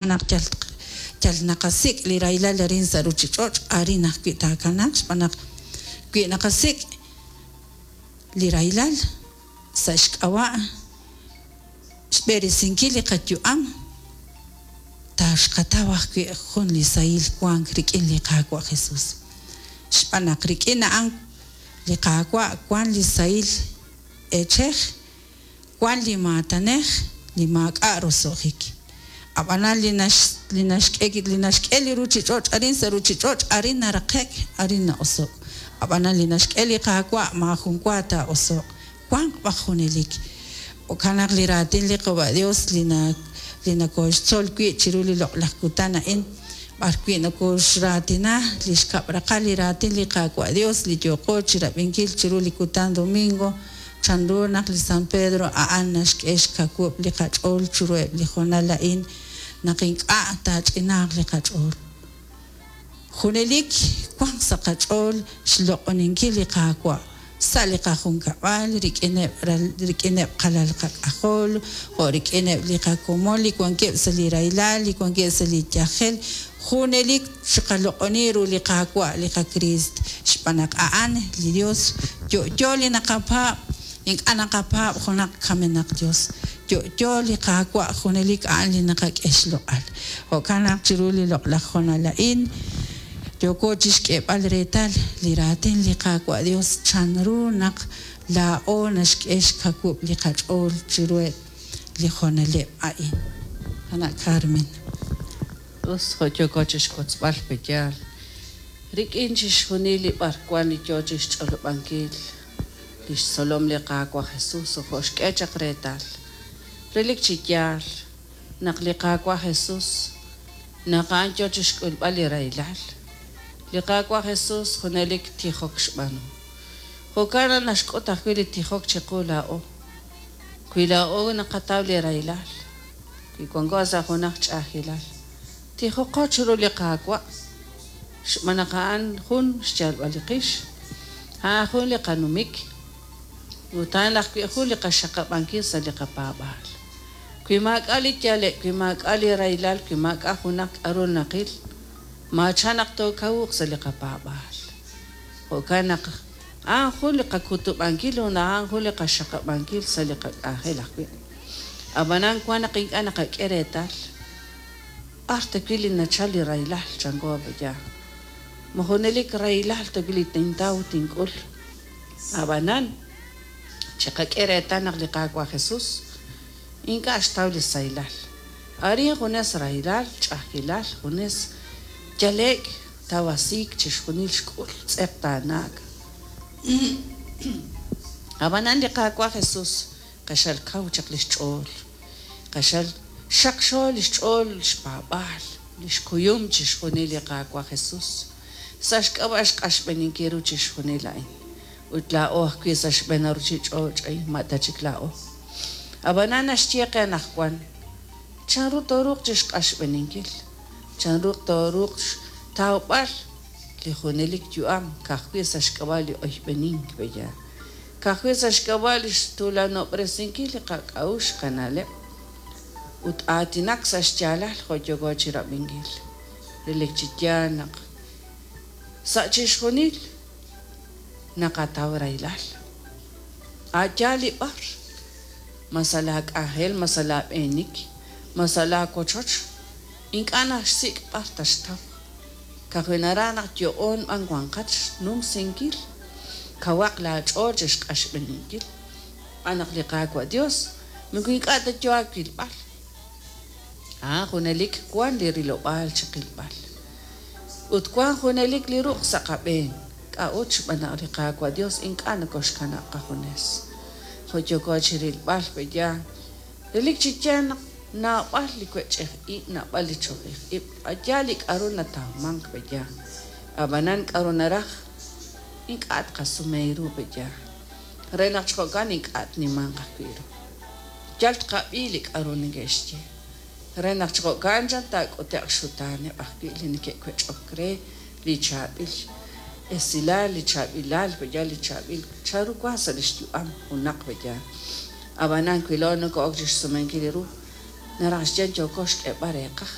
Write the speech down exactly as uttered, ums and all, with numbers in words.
Naq yal yal naqasik' li rahilal arin sa' ruuchich'och', arin ajwi' taakanaaq, xb'aan naq wi naqasik' li rahilal sa' xk'ab'a' xb'eresinkil li qayu'am, taaxqataw ajwi' jun li sahil wank rik'in li Qaawa' Jesus, xb'aan naq rik'in a'an li Qaawa' wank li sahil eechej, wank li maatanej li maak'a' roso'jik. Ab'anan li li naxk'e li naxk'e li ruuchich'och' arin sa' ruuchich'och', arin naraqe'k, arin na'oso'k. Ab'anan li naxk'e li Qaawa' maajun wa taa'oso'q, wanq b'aj junelik. Jo'kan naq li raatin li Qaawa' Dios li na li nokooxtzol wi' chiru li loq'laj kutan a'in, b'arwi' nokooxraatina li xkab' raqal li raatin li Qaawa' Dios li yooqo chirab'inkil chiru li kutan domingo, chanru naq li San Pedro a'an naxk'e xkawub' li qach'ool chiruheb' li hoonal a'in naq ink'a' taach'inaaq li qach'ool. Junelik wanq sa' qach'ool xloq'oninkil li Qaawa' sa' li qajunkab'al, rik'ineb' rik'ineb' qalal qak'ajol, jo' rik'ineb' li qakomon li wankeb' sa' li rahilal, li wankeb' sa' li yajel. Junelik chiqaloq'oni ru li Qaawa' li qaKriist, xb'aan naq a'an li Dios yo'yo li naqapaab', ink'a' naqapaab' junaq kamenaq Dios. Yo'yo li Qaawa' junelik a'an li naqak'e xloq'al. Jo'kan naq chiru li loq'laj hoonal a'in yooko chixk'eeb'al reetal li raatin li Qaawa' Dios, chanru naq laa'o naxk'e xkawub' li qach'ool chiruheb' li hoonaleb' a'in. Qana' Carmen. Us, jo' yooko chixwotzb'al pe'yaal rik'in chixjunil li b'arwan li yoo chixch'olob'ankil li xtzolom li Qaawa' Jesus, jo' xk'e chaq reetal relik chi yaal naq li Qaawa' Jesus naq a'an yoo chixk'ulb'al li rahilal, li Qaawa' Jesus junelik tijok xb'aanu. Jo'kan naq naxk'ut ajwi' li tijok chiqu laa'o. Wi laa'o naqataw li rahilal, wi wanko sa' junaq ch'a'ajkilal, tijoqo chiru li Qaawa', xb'aan naq a'an jun xyalb'al li qix, a'an jun li qanumik, ut a'an ajwi' jun li qaxaqab'ankil sa' li qapaab'aal. Wi maak'a' li yale'k, wi maak'a' li rahilal, wi maak'a' junaq k'aru naqil, maachan naq tookawuq sa' li qapaab'aal. Jo'kan naq a'an jun li qakutub'ankil ut a'an jun li qaxaqab'ankil sa' li qak'anjel ajwi'. Ab'anan wan naq ink'a' naqak'e reetal b'ar ta wi' li nachal li rahilal chanko pe'yaal. Ma junelik rahilal ta wi' li tintaw tink'ul. Ab'anan chiqak'e reetal naq li Qaawa' Jesus ink'a' xtaw li sahilal. Arin junes rahilal, ch'a'ajkilal, junes yale'k, tawasiik chixjunil xk'ul tz'eqtaanaak. Ab'anan li Qaawa' Jesus q'axal kaw chaq li xch'ool, q'axal xaqxo li xch'ool xpaab'aal, li xkuyum chixjunil li Qaawa' Jesus sa' xk'ab'a' xq'axb'eninkil ru chixjunil a'in. Ut laa'o ajwi' sa' xb'een ruuchich'och' a'in ma' ta chik laa'o. Ab'anan naxye qe anaqwan chanru tooruuq chixq'axb'eninkil, chanru tooruuq xtawb'al li junelik yu'am ka'ajwi' sa' xk'ab'a' li oyb'enink pe'yaal, ka'ajwi' sa' xk'ab'a' li xtuulanob'resinkil li qak'a'uxl qana'leb' ut aatinak sa' xyaalal jo' yooko chirab'inkil. Relik chi yaal naq sa' chixjunil naqataw rahilal. A' yaal li b'ar, ma sa' laak'anjel, ma sa' laab'eenik, ma sa' laawochoch, ink'a' naxsik' b'ar taxtaw. Ka'ajwi' naraj naq yo'oon b'an wanqat xnumsinkil, kawaq laach'ool chixq'axb'eninkil. Xb'aan naq li Qaawa' Dios moko ink'a' ta yo aawilb'al. A'an junelik wan li rilob'aal chiqilb'al. Ut wan junelik li ruq' sa' qab'een. K'a'ut? Xb'aan naq li Qaawa' Dios ink'a' nokoxkanab' qajunes. Jo' yooko chirilb'al pe'yaal relik chi yaal naq naab'al li wech'ej ib', naab'al li chojej ib', a'yaal li k'aru natawmank pe'yaal. Ab'anan k'aru naraj ink'a' tqasume ru pe'yaal. Re naq chi jo'kan ink'a' tnimanq ajwi' ru. Yal tqab'i li k'aru neke'xye. Re naq chi jo'kan chan taak'ute'q xutaaneb' ajwi' li neke'wech'ok re li chaab'il esilal, li chaab'ilal pe'yaal, li chaab'il chanru wank sa' li xyu'am junaq pe'yaal. Ab'anan wi laa'o noko'ok chixsumenkil ru, naraj xye yooko xk'eeb'al reeqaj.